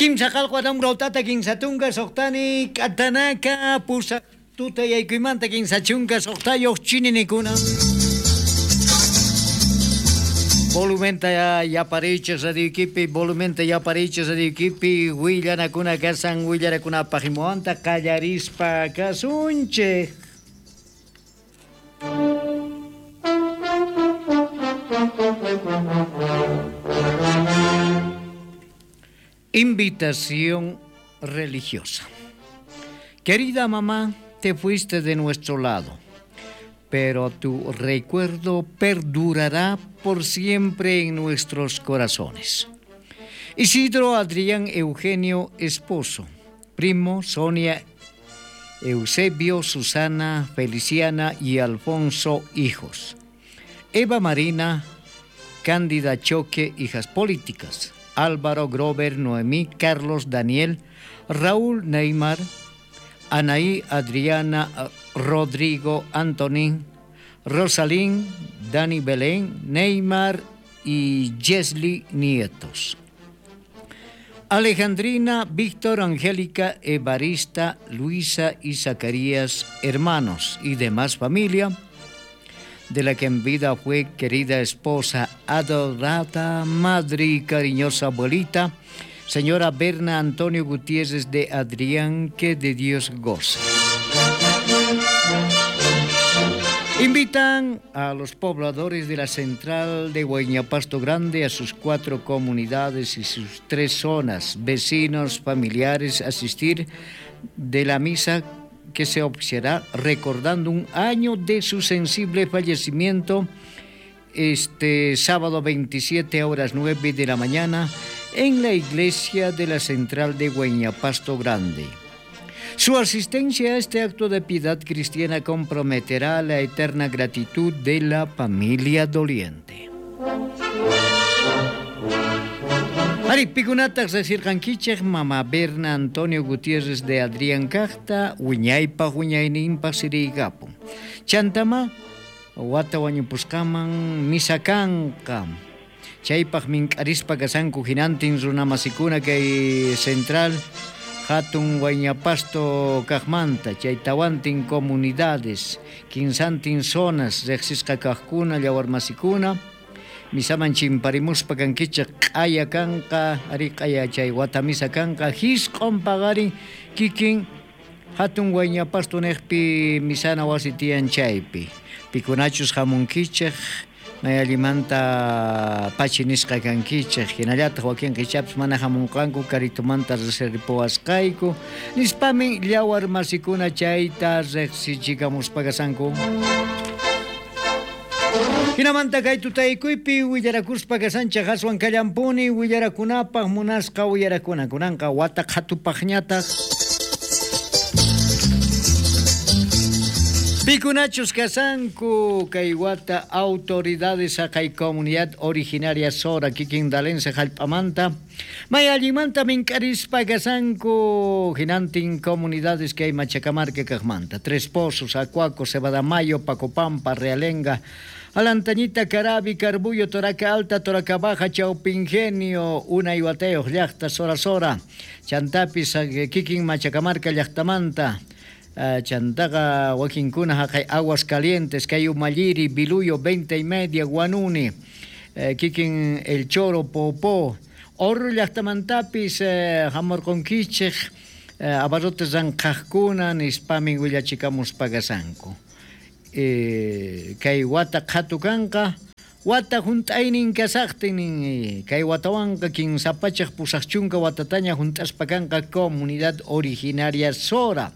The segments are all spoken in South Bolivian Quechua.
Kimsa qalqu atamrautata kinsatunka suqtani k'atanaka pusaq tuta yaykuymanta 36 chininikuna. Volumenta yaparichis radioykipi, volumenta yaparichis radioykipi, willanakuna kasan willarakunapaq imuwanta qallarispa kasunchik. Invitación religiosa. Querida mamá, te fuiste de nuestro lado, pero tu recuerdo perdurará por siempre en nuestros corazones. Isidro Adrián Eugenio, esposo, primo Sonia, Eusebio, Susana, Feliciana y Alfonso, hijos. Eva Marina, Cándida Choque, hijas políticas. Álvaro Grover, Noemí, Carlos, Daniel, Raúl Neymar, Anaí, Adriana, Rodrigo, Antonín, Rosalín, Dani Belén, Neymar y Jesly Nietos. Alejandrina, Víctor, Angélica, Evarista, Luisa y Zacarías, hermanos y demás familia, de la que en vida fue querida esposa, adorada madre y cariñosa abuelita, señora Berna Antonio Gutiérrez de Adrián, que de Dios goce. Invitan a los pobladores de la central de Huayñapasto Grande, a sus 4 comunidades y sus 3 zonas, vecinos, familiares, a asistir de la misa que se observará recordando un año de su sensible fallecimiento este sábado 27 a horas 9 de la mañana en la iglesia de la central de Huayñapasto Grande. Su asistencia a este acto de piedad cristiana comprometerá la eterna gratitud de la familia doliente. Ari, pikunataq resirqankichej mama Berna Antonio Gutiérrez de Adrián Cajta, wiñaypaj wiñayninpaj siriykapun. Chantama, wata wañupusqaman misa kanqa. Chaypaj mink'arispa kasanku hinantin runamasikuna kay central hatun Huayñapasto kajmanta, chay tawantin comunidades, 15 zonas riqsisqa kajkuna, llawarmasikuna, misaman chimparimuspa kankichej q'aya kanqa, ari q'aya chay wata misa kanqa, hisq'on paqarin kikin hatun Huayñapasto nejpi misana wasi tiyan chaypi. Pikunachus hamunkichej, may allimanta pachi nisqa kankichej, hinallataq wakin qichapis mana hamunqanku karitumanta reserpuwasqayku, nispamin llawar masikuna chayta riqsichikamuspa kasanku. Hinamanta kay tutaykuypi willarakuspa kasanchej aswan kallampuni willarakunapaq munasqa willarakuna kunanqa wata qhatupaqñataq. Pikunachus kasanku kay wata autoridades haqay comunidad originaria Sora kikin dalense jallp'amanta may allimanta mink'arispa kasanku hinantin comunidades kay Machacamarca kajmanta Tres Pozos, Acuaco, Cebadamayo, Pacopampa, Realenga, Alantañita, Carabi, Carbullo, Toraca Alta, Toraca Baja, Chaupingenio, Unayhuateo, llaqta, Sora Sora, Chantapis, kikin Machacamarca llaqtamanta, Chantaqa, wakinkuna haqay Aguas Calientes, kay Umalliri, Biluyo, 20:30, Guanuni, kikin El Choro, Popó, Orro llaqtamantapis, hamurqunkichej, abarrotes ranqhaqkuna, nispamin willachikamuspa kasanku. Kay wata qhatu kanqa, wata hunt'aynin kasaqtin, kay watawanqa 380 watataña hunt'aspa kanqa comunidad originaria Sora.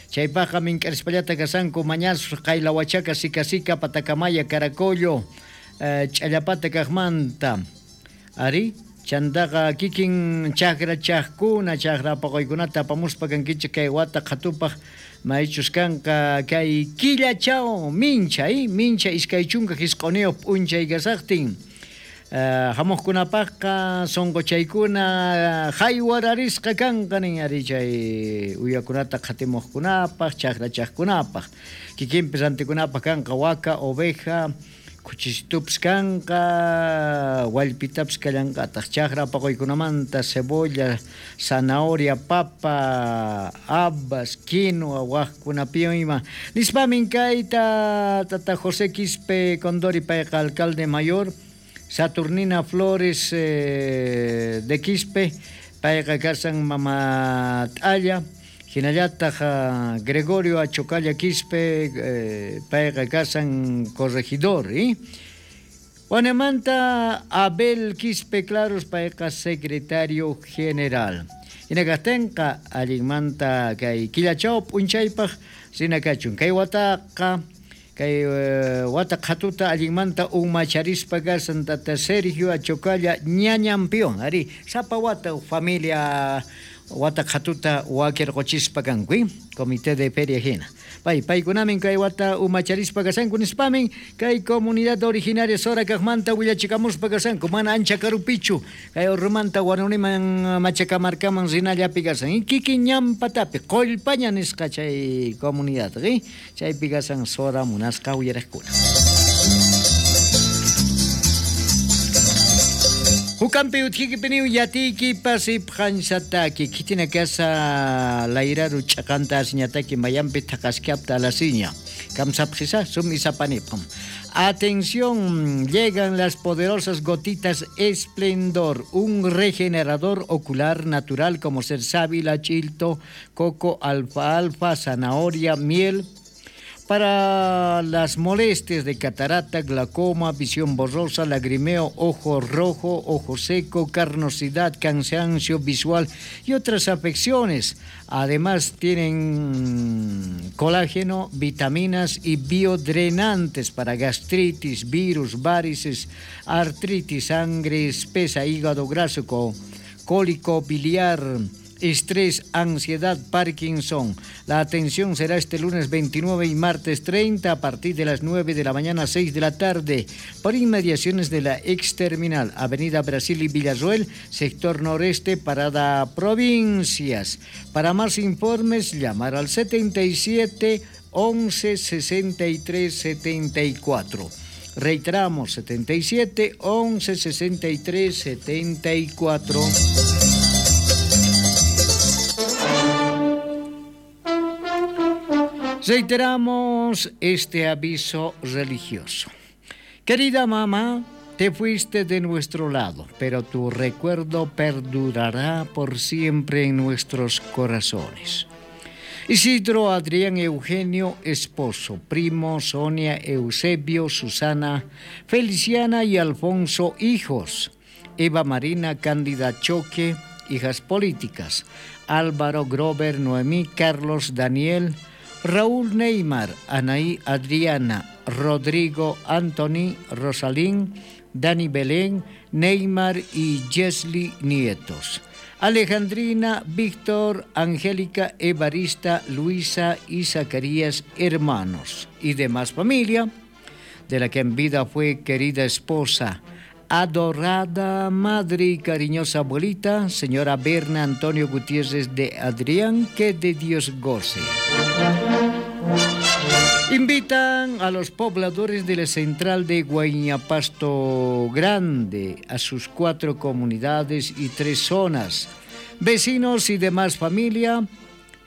Chaypaqqa mink'arispallata kasanku Mañazo, Qaylahuachaca, Sicasica, Patacamaya, Caracollo, Ch'allapata kajmanta. Ari, chantaqa kikin chakra chajkuna, chakra paqaykunata apamuspa kankichik kay wata qhatupaq maychus kanqa kay killachaw mincha, mincha 29 p'unchay kasaqtin. Hamuqkunapaqqa sunquchaykuna haywararisqa kanqa nin ari chay uyakunata qhatimuqkunapaq, chakrachaqkunapaq. Kikinpis rantikunapaq kanqa waka, oveja, Khuchisitupis kanqa, wallpitapis kallanqataq, chaqra paquykunamanta cebolla, zanahoria, papa, habas, quinoa, wajkunapiwan ima. Nispamin kayta tata José Quispe Condori payqa alcalde mayor, Saturnina Flores de Quispe, payqa kasan mama t'alla, hinallataq Gregorio Achocalla Quispe, payqa kasan corregidor, Wanemanta Abel Quispe Claros, payqa secretario general. Hinakaqtinqa allinmanta kay killachaw p'unchaypaq rinakachun. Kay wataqa kay wata qhatuta allinmanta umacharispa kasan tata Sergio Achocalla ñañampiwan. Ari, sapa wata familia wata qhatuta wakirquchispa kanku, comité de feria hina. Pay, paykunamin kay wata umacharispa kasanku nispamin kay comunidad originaria Sora kaqmanta willachikamuspa kasanku, mana ancha karupichu kay urrumanta Huanuniman Machacamarcaman rinallapi kasan, kikin ñampatapi qollpaña nisqa chay comunidad, chaypi kasan Sora munasqa uyaraqkuna. Hukampi utjikipiniw yatiyki pasipqansataki kitina kasa layraru ch'aqanta asiñataki mayampi thaqaskapta alasiña kamsapqisa sum isapanipam. Atención, llegan las poderosas gotitas Esplendor, un regenerador ocular natural como ser sábila, chilto, coco, alfalfa, zanahoria, miel, para las molestias de catarata, glaucoma, visión borrosa, lagrimeo, ojo rojo, ojo seco, carnosidad, cansancio visual y otras afecciones. Además tienen colágeno, vitaminas y biodrenantes para gastritis, virus, varices, artritis, sangre espesa, hígado graso, cólico biliar, estrés, ansiedad, Parkinson. La atención será este lunes 29 y martes 30 a partir de las 9 de la mañana a 6 de la tarde por inmediaciones de la ex terminal, Avenida Brasil y Villarroel, sector noreste, parada Provincias. Para más informes, llamar al 77 11 63 74. Reiteramos, 77 11 63 74. Reiteramos este aviso religioso. Querida mamá, te fuiste de nuestro lado, pero tu recuerdo perdurará por siempre en nuestros corazones. Isidro Adrián Eugenio, esposo, primo, Sonia, Eusebio, Susana, Feliciana y Alfonso, hijos. Eva Marina, Cándida Choque, hijas políticas. Álvaro, Grover, Noemí, Carlos, Daniel, Raúl Neymar, Anaí Adriana, Rodrigo, Anthony, Rosalín, Dani Belén, Neymar y Jesly Nietos. Alejandrina, Víctor, Angélica, Evarista, Luisa y Zacarías, hermanos y demás familia, de la que en vida fue querida esposa, adorada madre y cariñosa abuelita, señora Berna Antonio Gutiérrez de Adrián, que de Dios goce. Invitan a los pobladores de la central de Guaiñapasto Grande, a sus 4 comunidades y 3 zonas, vecinos y demás familia,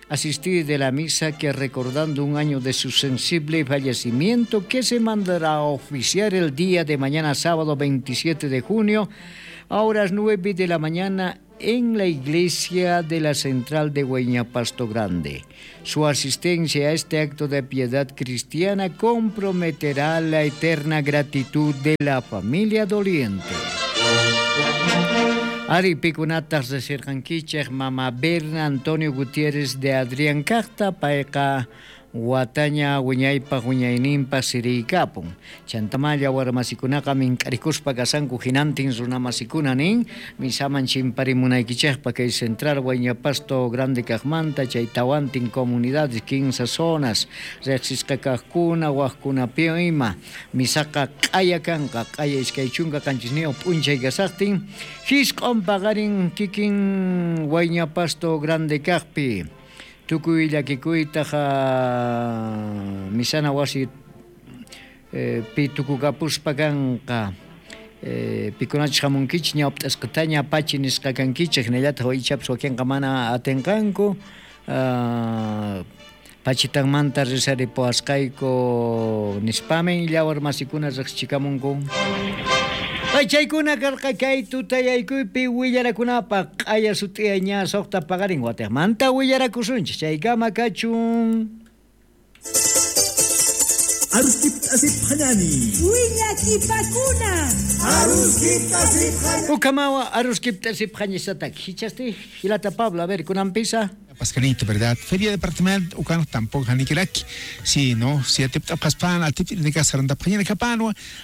asistir de la misa que recordando un año de su sensible fallecimiento que se mandará a oficiar el día de mañana sábado 27 de junio a horas 9 de la mañana en la iglesia de la central de Guaiñapasto Grande. Su asistencia a este acto de piedad cristiana comprometerá la eterna gratitud de la familia doliente. Ari pikunatas de Sirjanquichej, Mama Berna Antonio Gutiérrez de Adrián Cacta, payqa wataña wiñaypaq wiñayninpa siriykapun. Chantamalla warmasikunaqa mink'arikuspa kasanku hinantin runamasikuna nin, misaman chimparimunaykichejpa kay central Guaiñapasto Grande kaqmanta chay tawantin comunidades 15 zonas riqsisqa kaqkuna waqkunapiwan ima misaqa q'aya kanqa q'aya 27 p'unchay kasaqtin hisq'on paqarin kikin Guaiñapasto Grande kaqpi. Tukuy llakikuytaqa misana wasi Pi tukukapuspa kanqa. Pikunachus hamunkichik ñawpt'asqataña pachi nisqa kankichik, hinallataq ichapas wakinqa mana atinqanku. Pachitanmanta rezaripuwasqayku nispamin llawar masikuna riqsichikamunku. Chaykuna karqa kay tutayaykuypi willarakunapaq q'aya sut'iyay ña suqta paqarin watiqmanta willarakusunchik chaykama kachun. Aruskipt'asipqañani. Willakipakuna. Aruskipt'asipqañani. Ukamawa aruskipt'asipqañisataki. Hichasti Hilata Pablo, a ver, kunanpisa. Pascanito, ¿verdad? Feria departamental, ucan tampoco janikiraki. Sí, no, si atiptapaspan, atiptirnecas,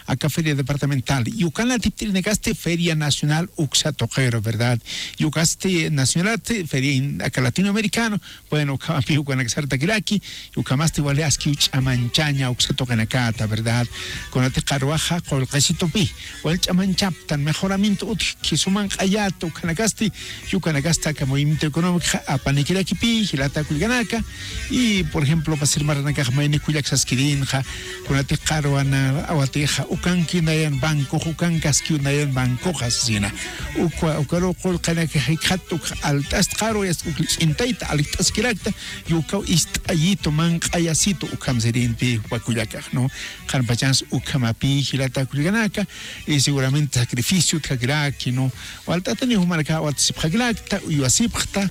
acá feria departamental. Y ucan atiptirnecaste feria nacional uxatoquero, ¿verdad? Y ucaste nacional, feria acá latinoamericano, bueno, ucamapi ucanaxartaquiraki, ucamaste igualeaski uchamanchaña uxatoquenacata, ¿verdad? Con ate carruaja, colcasito pi, o el chamanchaptan, mejoramiento utquisuman ayato, ucanacasti, y ucanacasta acá movimiento económico, apaniquiraki pi, hilata kulganaka, y por ejemplo, pasir maranaka maini kuyak saskirinja, kunate qaruana awateja, ukanki nayan banco, ukan kaski nayan banco jasina, ukwa ukaro qolqanaka hikatu altast qaru yas uklintaita alitaskirakta, yukau istayito man qayasito ukamserinpi wakuyakaj, ¿no? Qarpachans ukamapi, hilata kulganaka, y seguramente sacrificio tjakiraki, ¿no? O altatani humaraka watsipjakilakta, uyuasipjta,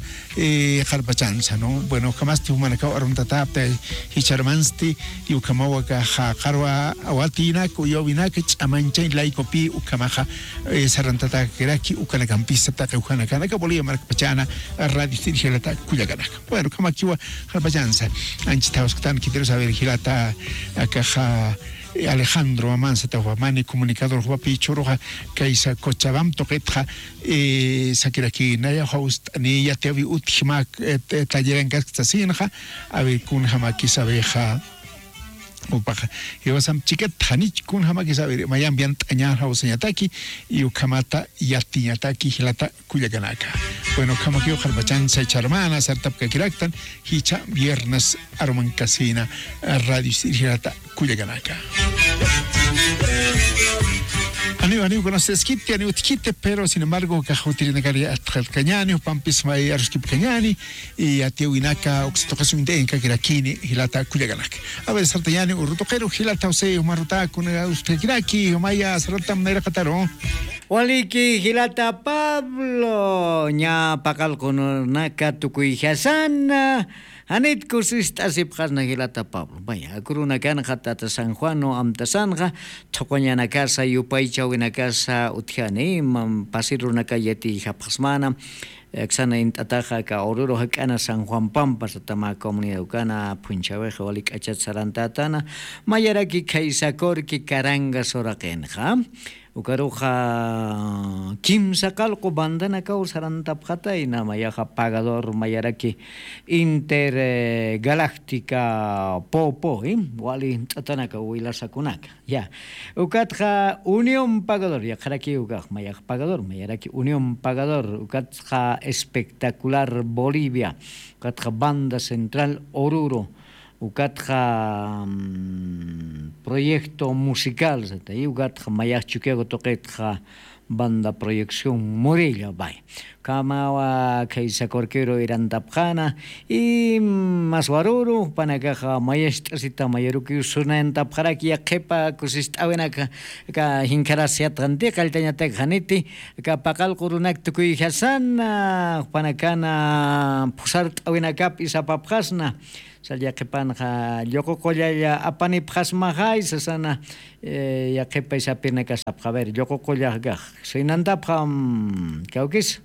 qarpachansa, ¿no? Bueno, jamás te humaraka aruntatapta, hicharmansti, y ukamawaka ja qarwa awatina, kuyowinaka, ch'amanchay laikopi, ukamaja, sarantata kiraki, ukanakampista, taqa ukanakanaka, bolivia markapachana, radio hilata kuyakanaka. Bueno, kamakiwa qarpachansa, anchitausqtan, quiero saber hilata, akaja Alejandro Amanza Tahuamani, comunicador Huapi Choroja, Kaisa Cochabam Toquetja, Sakiraki Naya Host, ni ya te vi utjimak, talleran Cascasinja, a ver kun jamaki sabeja. Upaja, y vas a chiquet hanich kun jamaki saber, mayam bian tañar hauseñataki, y ukamata yatiñataki hilata kuyakanaka. Bueno, kamaki ojalbachanza charmana, sartapka kiraktan, hicha viernes aroman casina, radio hilata kuyakanaka. Aniu conoces quite, aniu tquite, pero sin embargo, cajutirinacaria atjalcañani, pampis may arruskipcañani, y atiuinaca, oxitocasundenca, kirakini, hilata cuyaganaka. A ver, sartayani, urrutoquero, hilata oseo, marrutaco, ustekiraki, maya, sartam, nerakataro. Waliki, hilata Pablo, ña pacalconaka, tukuijasana. Anit kusist asipqasna hilata Pablo. Vaya, akuruna kanja tata San Juano amtasanja, toqoñana casa yupaychawina casa utjani, pasiruna kayeti japqasmana, Xana intataja ka Oruro hakana San Juan Pampa satama comunidad ukana punchaweja walik achatsarantatana mayaraki kaysakorki karanga soraqenja. Ukaruja kimsa qalqu bandana kawsarantapqatayna mayaja pagador mayaraki intergaláctica popo wali t'atanaka wilasakunaka ya ukatqa Unión Pagador yaqaraki ukaq mayaj pagador mayaraki Unión Pagador ukatqa Espectacular Bolivia ukatqa Banda Central Oruro ukatqa proyecto musical ukatqa mayaqchukiago toqetqa banda proyección Morilla bay kamawa kaysakorquero irantapqana y maswaruru panakaja mayasht'asita mayaruki sunantapqaraki yaqhipa kusist'awinaka ka hinkarasiatqanti qalltañataq haniti ka paqalqurunak tukuyjasana panakana phusart'awinakapi isapapqasna Salyaqipanja lluququllalla apanipqasmajay sasana yaqipa isapirna kasapqa. A ver, lluququllaq kaq. Sinantapqa kawkis.